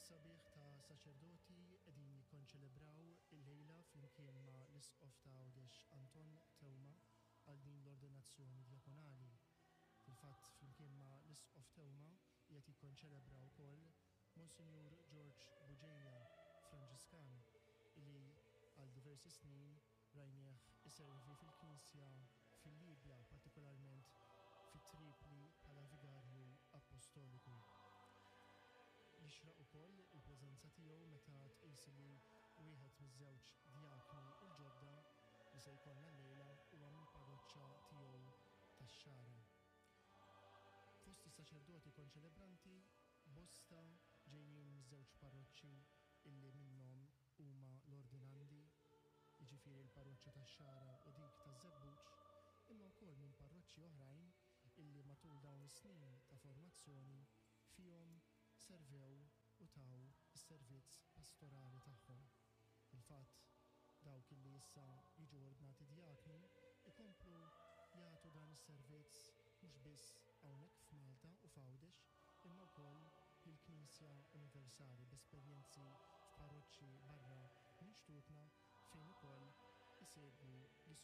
sabiħ ta' saċerdoti qegħdin jikkonċelebraw illejla flimkien ma' l-Isqof ta' Għawdex Anton Teuma għal din l-ordinazzjoni djakonali. Fil-fatt flimkien ma' l-Isqof Teuma qiegħed jikkonċelebra wkoll Monsinjur Ġorġ Bugeja, Franġiskan, li għal diversi snin rajnieh iservi fil-Knisja fil-Libja, partikolarment fi Tripli bħala Vigarju Appostoliku. Jixraq ukoll il-preżenza tiegħu meta tqis li wieħed miż-żewġ djakni l-ġodda li se jkollna llejla huwa mill-parroċċa tiegħu tax-Xagħra. Fost is-saċerdoti konċelebranti bosta ġejjin miż-żewġ parroċċi illi minnhom huma l-ordinandi, jiġifieri l-parroċċa tax-Xagħra u dik taż-Żebbuġ, imma wkoll minn parroċċi oħrajn illi matul dawn is-snin ta' formazzjoni fihom servew u taw is-servizz pastorali tagħhom. Fil-fatt, dawk illi issa jiġu ordnati djakni jkomplu jagħtu dan is-servizz mhux biss hawnhekk f'Malta u f'Għawdex imma wkoll lill-Knisja Universali b'esperjenzi f'parroċċi barra minn xtutna fejn ukoll isegwu l-istudji.